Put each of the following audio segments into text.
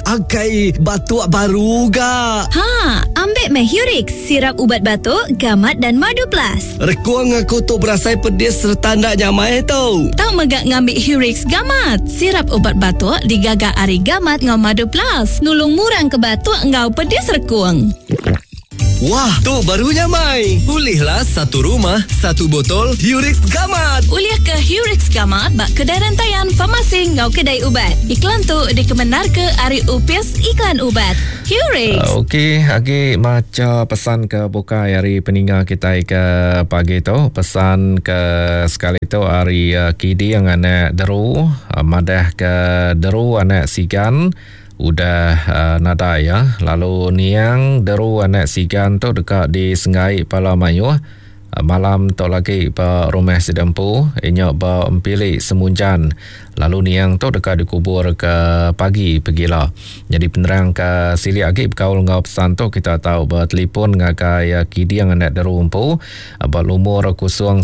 Akai batuk baru ga. Ha, ambik meh Hurix, sirap ubat batuk, gamat dan madu plus. Rekung aku tu berasai pedis sereta enda nyamai tu. Tau mega ngambi Hurix Gamat, sirap ubat batuk digaga ari gamat enggau madu plus, nulung murang ke batuk enggau pedis rekung. Wah, tu baru nyamai. Ulihlah satu rumah, satu botol Hurix Gamat. Ulih ke Hurix Gamat ba kedai rentayan, farmasi enggau kedai ubat. Iklan tu dikemendarka ari Opis Iklan Ubat. Hurix. Okey, agi macha pesan ke bukai ari peninga kitai ke pagi tu. Pesan ke sekali tu ari Kiding anak Deru madah ke Deru anak Sigan. Udah nadai iya lalu niang Deru anak Sigan tu deka disenggai pala mayuh malam tu lagi ba rumah sida empu inya ba Empili Semunjan lalu niang tu deka dikubur ke pagi pegila. Nyadi penerang ke silik agi bekaul enggau pesan tu kita tau betelipon ngagai Kiding anak Deru empu ba lumur 016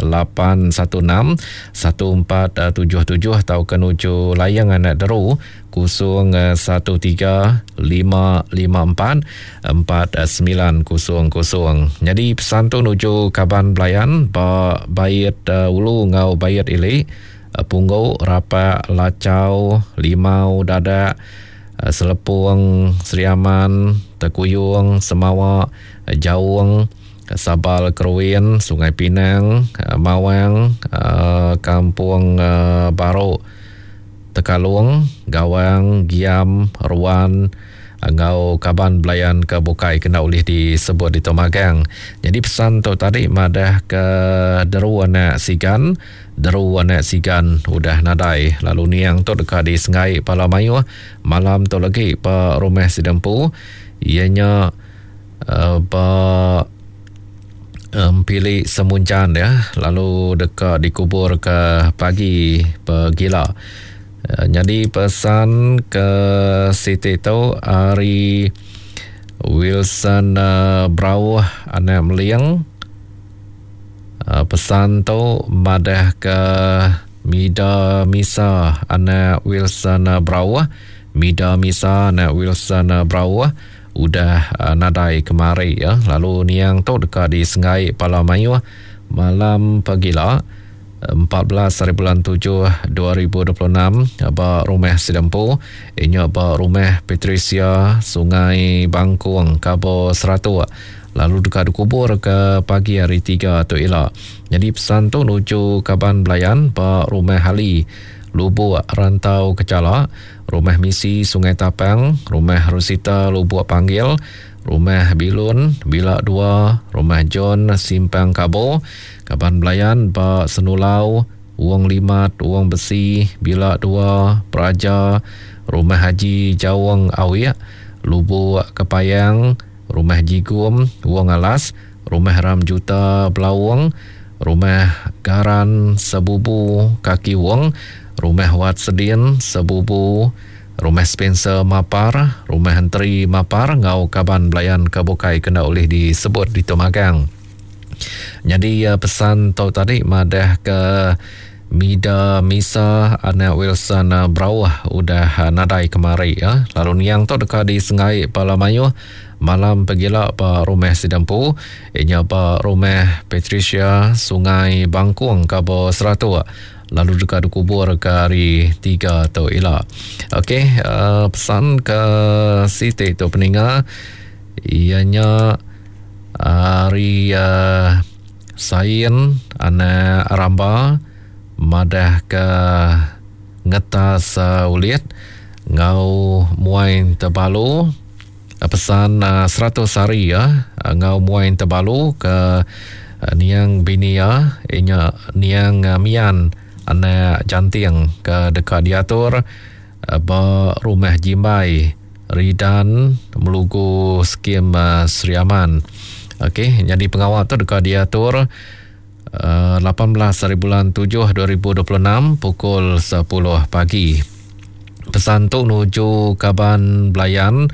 816 1477 tauka nuju Layang Anak Deru 013 554 4900. Nyadi pesan tu nuju kaban belayan ba Bait Ulu enggau Bait Ili, Punggu, Rapak, Lachau, Limau, Dadak, Selepong, Sri Aman, Tekuyung, Semawa, Jaung, Sabal Keruin, Sungai Pinang, Mawang, Kampung Baru, Tekalong, Gawang, Giam, Ruan enggau kaban belayan ke bukai kena ulih disebut ditu magang. Nyadi pesan tu tadi madah ke deru anak Sigan, deru anak Sigan udah nadai lalu niang tu deka disenggai pala mayuh malam tu lagi ba rumah sida empu iya nya Ba Empili Semunjan ya lalu deka dikubur ke pagi pegila. Nyadi pesan ke siti tu ari Wilson Brauh anak Meling. Pesan tu madah ke Mida Misa anak Wilson Brauh. Mida Misa anak Wilson Brauh. Udah nadai kemari ya lalu niang tu deka disenggai pala mayuh malam pagila 14 hari bulan 7 2026 ba rumah sida empu inya ba rumah Patricia Sungai Bangkung Kabo Seratuk lalu deka dikubur ke pagi hari 3 tu ila. Nyadi pesan tu nuju kaban belayan ba rumah Ali Lubuk Rantau Kechala Rumah Misi Sungai Tapang, Rumah Rosita Lubuk Panggil, Rumah Bilun, Bila Dua, Rumah John Simpang Kabo, Kaban Belayan ba Senulau, Wong Limat, Wong Besi, Bila Dua, Praja, Rumah Haji Jaung Awik, Lubuk Kepayang, Rumah Jigum, Wong Alas, Rumah Ram Juta Belaung, Rumah Garan Sebubu Kaki Wong, Rumah Wat Sedin Sebubu, Rumah Spencer Mapar, Rumah Enteri Mapar enggau kaban belayan ke bukai ke enda ulih disebut ditu magang. Nyadi pesan tu tadi madah ke Mida Misa anak Wilson Brauh udah nadai kemari ya. Lalu niang tu deka disenggai bala mayuh malam pegila ba rumah sida empu inya ba rumah Patricia Sungai Bangkung Kabo Seratuk lalu deka dikubur ke hari 3 tu ila. Okey, uh, pesan ke siti tu peninga ianya ari uh, Sain anak Ramba madah ke ngetas ulit enggau muai tebalu pesan 100 hari ya enggau muai tebalu ke niang bini iya inya niang Mian anak Janting ke deka diatur ba Rumah Jimbai Ridan Melugu Skim Sri Aman. Okey, nyadi pengawa tu deka diatur 18 hari bulan 7 2026 pukul 10 pagi. Pesan tu nuju kaban belayan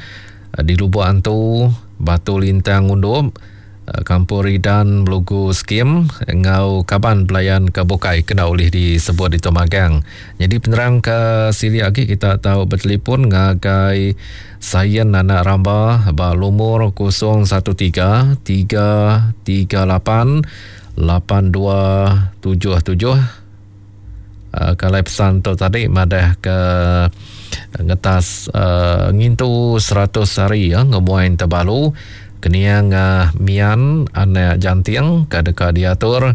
di Lubok Antu, Batu Lintang Undup. Kampung Ridan Melugu Skim enggau kaban belayan ke bukai kena ulih disebut ditu magang. Nyadi penerang ke silik agi kita tau betelefon ngagai Sain Anak Ramba ba lumur 013 338 8277. Kalai pesan tu tadi madah ke ngetas ngintu 100 hari ngemuai Tebalu keniang Mian anak Janting ke deka diatur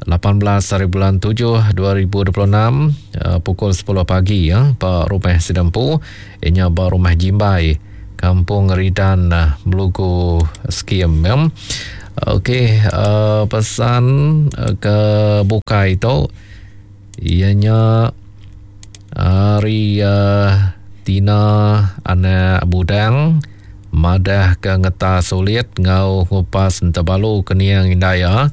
18 hari bulan 7 2026 pukul 10 pagi ba rumah sida empu inya ba rumah Jimbai Kampung Ridan Melugu Skim. Okey, pesan ke bukai tu iya nya ari Tina anak Budang madah ke ngetas ulit enggau ngupas entebalu ke niang indai iya.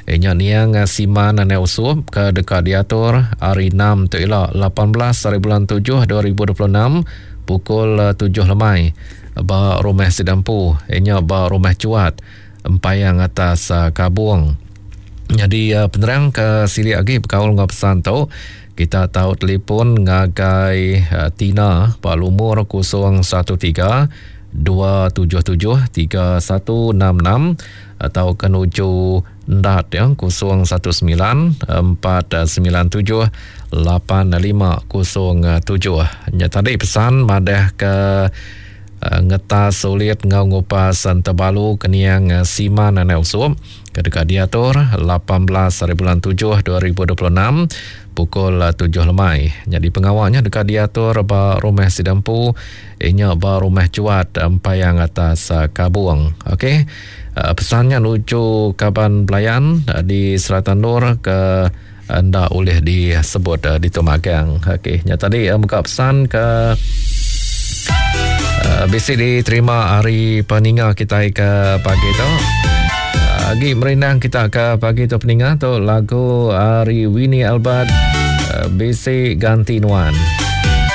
Iya nya niang Siman anak Usup ke deka diatur hari enam tu ila 18 hari bulan 7 2026 pukul 7 lemai ba rumah sida empu iya nya ba rumah Chuat Empayang atas Kabong. Nyadi penerang ke silik agi bekaul enggau pesan tu kita tau telefon ngagai Tina ba lumur 013 277 3166 tauka nuju Endat ya 019 497 8507. Nya tadi pesan madah ke Ngetas ulit enggau ngupas Entebalu Keniang Siman Anak Usup ke deka diatur 18 hari bulan 7 2026 pukul 7 lemai. Nyadi pengawa nya deka diatur ba rumah sida empu inya ba rumah Chuat Empayang atas Kabung. Okey. Pesan nya nuju kaban belayan di serata endur ke enda ulih disebut ditu magang. Okey, nya tadi muka pesan ke bisi diterima hari peninga kita ke pagi tu. Agi merindang kita ke pagi tu peninga tu lagu hari Winnie Albert bisi ganti nuan.